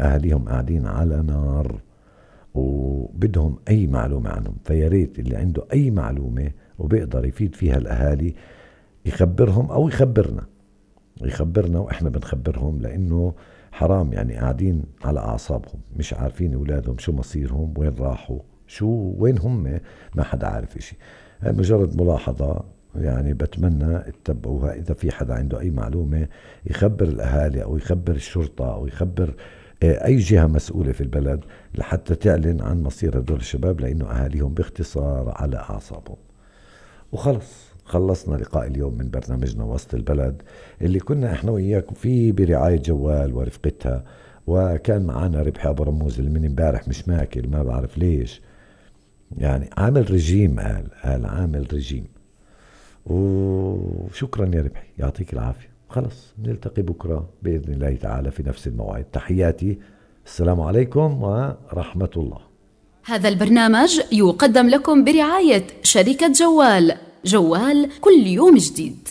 يعني أهاليهم قاعدين على نار وبدهم أي معلومة عنهم. فياريت اللي عنده أي معلومة وبيقدر يفيد فيها الأهالي يخبرهم أو يخبرنا وإحنا بنخبرهم، لأنه حرام يعني قاعدين على أعصابهم، مش عارفين أولادهم شو مصيرهم، وين راحوا، وين هم، ما حدا عارف إشي. هاي مجرد ملاحظة يعني بتمنى اتبعوها. إذا في حدا عنده أي معلومة يخبر الأهالي أو يخبر الشرطة أو يخبر أي جهة مسؤولة في البلد لحتى تعلن عن مصير هدول الشباب، لأنه أهاليهم باختصار على أعصابهم. وخلص خلصنا لقاء اليوم من برنامجنا وسط البلد، اللي كنا احنا وإياكم فيه برعاية جوال ورفقتها، وكان معنا ربحي أبو رموز اللي من امبارح مش ماكل، ما بعرف ليش، يعني عامل رجيم، قال عامل رجيم. وشكرا يا ربحي، يعطيك العافية. خلص نلتقي بكرة بإذن الله تعالى في نفس الموعد. تحياتي، السلام عليكم ورحمة الله. هذا البرنامج يقدم لكم برعاية شركة جوال كل يوم جديد.